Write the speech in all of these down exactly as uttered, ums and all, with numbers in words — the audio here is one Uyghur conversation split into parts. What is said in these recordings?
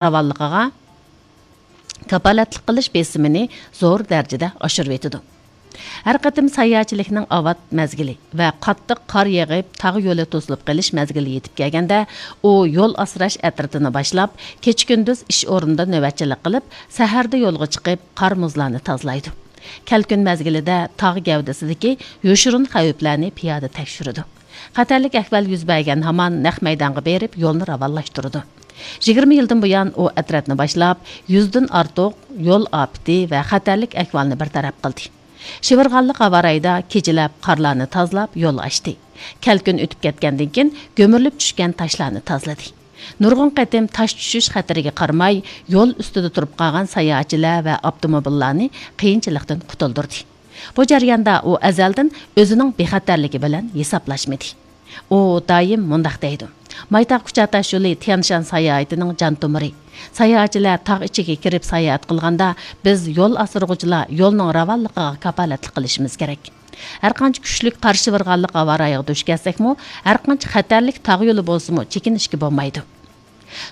راۋانلىقىغا كاپالەتلىك قىلىش بېسىمىنى زور دەرىجىدە ئاشۇرۇۋېتىدۇ. ھەر قېتىم ساياھەتچىلىكنىڭ ئاۋات مەزگىلى ۋە قاتتىق قار يېغىپ، تاغ يولى توسۇلۇپ قېلىش مەزگىلى يېتىپ كەلگەندە، ئۇ يول ئاسراش ئەترىتىنى باشلاپ، كېچە-كۈندۈز ئىش ئورنىدا نۆۋەتچىلىك قىلىپ، سەھەردە يولغا چىقىپ، قار-مۇزلارنى تازىلايدۇ. كەلكۈن مەزگىلىدە تاغ گەۋدىسىدىكى يوشۇرۇن خەۋپلەرنى پىيادە تەكشۈرىدۇ. خەتەرلىك ئەھۋال يۈز بەرگەن ھامان نەق مەيدانغا بېرىپ، يولنى راۋانلاشتۇرىدۇ. يىگىرمە يىلدىن بۇيان ئۇ ئەترەتنى باشلاپ، يۈزدىن ئارتۇق يول ئاپىتى ۋە خەتەرلىك ئەھۋالنى بىر تەرەپ قىلدى. شىۋىرغانلىق ھاۋارايىدا كېچىلەپ قارلارنى تازىلاپ يول ئاچتى. كەلكۈن ئۆتۈپ كەتكەندىن كېيىن، گۈمۈرۈلۈپ چۈشكەن تاشلارنى تازىلىدى. نۇرغۇن قېتىم تاش چۈشۈش خەتىرىگە قارىماي، يول ئۈستىدە تۇرۇپ قالغان ساياھەتچىلەر ۋە ئاپتوموبىللارنى قىيىنچىلىقتىن قۇتۇلدۇردى. بۇ جەرياندا ئۇ ئەزەلدىن ئۆزىنىڭ بىخەتەرلىكى بىلەن ھېسابلاشمىدى. ئۇ دائىم مۇنداق دەيدۇ: «مايتاغ كۇچا تاش يولى تيەنشان ساياھىتىنىڭ جان تومۇرى. ساياھەتچىلەر تاغ ئىچىگە كىرىپ ساياھەت قىلغاندا، بىز يول ئاسرىغۇچىلار يولنىڭ راۋانلىقىغا كاپالەتلىك قىلىشىمىز كېرەك.» ھەرقانچە كۈچلۈك قار شىۋىرغانلىق ھاۋارايىغا دۇچ كەلسەكمۇ، ھەرقانچە خەتەرلىك تاغ يولى بولسىمۇ، چېكىنىشكە بولمايدۇ.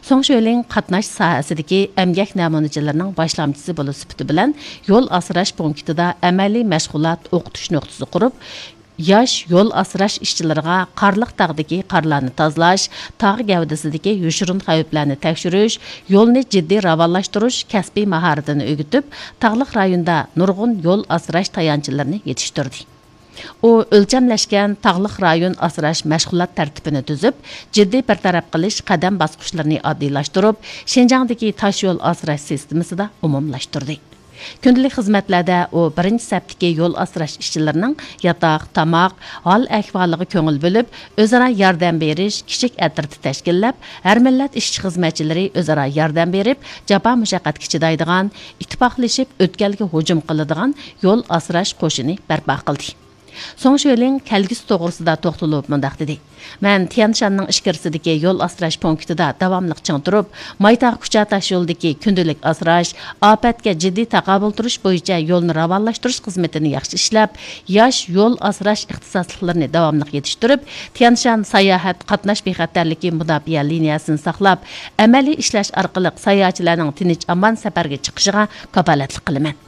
سۇڭ شۆلىڭ قاتناش ساھەسىدىكى ئەمگەك نەمۇنىچىلىرىنىڭ باشلامچىسى بولۇش سۈپىتى بىلەن، يول ئاسراش پونكىتىدا ئەمەلىي مەشغۇلات ئوقۇتۇش نۇقتىسى قۇرۇپ، ياش يول ئاسراش ئىشچىلىرىغا قارلىق تاغدىكى قارلارنى تازىلاش، تاغ گەۋدىسىدىكى يوشۇرۇن خەۋپلەرنى تەكشۈرۈش، يولنى جىددىي راۋانلاشتۇرۇش كەسپىي ماھارىتىنى ئۆگىتىپ، تاغلىق رايوندا نۇرغۇن يول ئاسراش تايانچلىرىنى يېتىشتۈردى. ئۇ ئۆلچەملەشكەن تاغلىق رايون ئاسراش مەشغۇلات تەرتىپىنى تۈزۈپ، جىددىي بىر تەرەپ قىلىش قەدەم باسقۇچلىرىنى ئاددىيلاشتۇرۇپ، شىنجاڭدىكى تاش يول ئاسراش سىستېمىسىدا ئومۇملاشتۇردى. كۈندىلىك خىزمەتلەردە ئۇ بىرىنچى سەپتىكى يول ئاسراش ئىشچىلىرىنىڭ ياتاق، تاماق، ھال ئەھۋالىغا كۆڭۈل بۆلۈپ، ئۆزئارا ياردەم بېرىش كىچىك ئەترىتى تەشكىللەپ، ھەر مىللەت ئىشچى خىزمەتچىلىرى ئۆزئارا ياردەم بېرىپ، جاپا مۇشەققەتكە چىدايدىغان، ئىتتىپاقلىشىپ ئۆتكەلگە ھۇجۇم قىلىدىغان يول ئاسراش قوشۇنى بەرپا قىلدى. سۇڭ شۆلىڭ كەلگۈسى توغرىسىدا توختىلىپ مۇنداق دېدى: «مەن تيەنشاننىڭ ئىچكىرىسىدىكى يول ئاسراش پونكىتىدا داۋاملىق چىڭ تۇرۇپ، مايتاغ كۇچا تاش يولىدىكى كۈندىلىك ئاسراش، ئاپەتكە جىددىي تاقابىل تۇرۇش بويىچە يولنى راۋانلاشتۇرۇش خىزمىتىنى ياخشى ئىشلەپ، ياش يول ئاسراش ئىختىساسلىقلىرىنى داۋاملىق يېتىشتۈرۈپ، تيەنشان ساياھەت قاتناش بىخەتەرلىكى مۇداپىئە لىنىيەسىنى ساقلاپ، ئەمەلىي ئىشلەش ئارقىلىق ساياھەتچىلەرنىڭ تىنچ-ئامان سەپەرگە چىقىشىغا كاپالەتلىك قىلىمەن.»